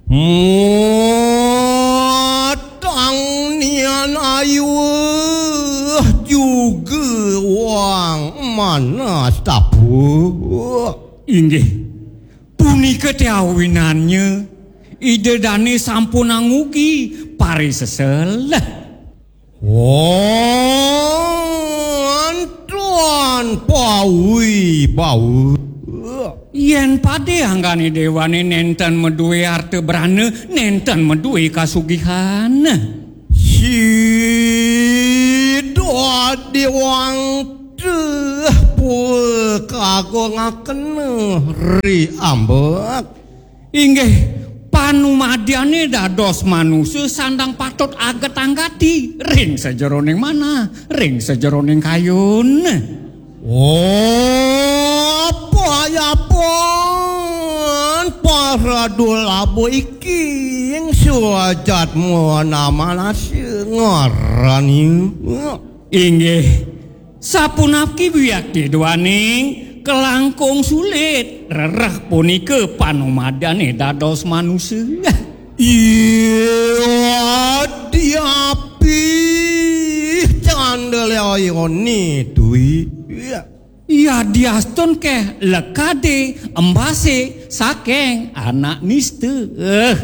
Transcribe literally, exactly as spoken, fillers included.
Matang nian ayuh juga wang manas tapu. Inggih, punika te awinannya Ida Dane sampun angugi parisesel. Wah, antuan pawi bawa. Yen pade anggane dewane nenten madue arta brana, nenten madue kasugihan. Sida dewang teh pul kagungakena ri ambek. Inggih, panumadiane dados manusa sandang patut aget-anggati ring sajeroning manah, ring sajeroning kayun. Oh, payapan paradul abu iking suajat muana manasa ngarani. Inggih, sapunapki wiakti duaning kalangkung sulit rereh punika panumadane dados manusa. Iya, diapi candale ayone dwi. Yadiastun keh lekade embase saking anak nista. Eh,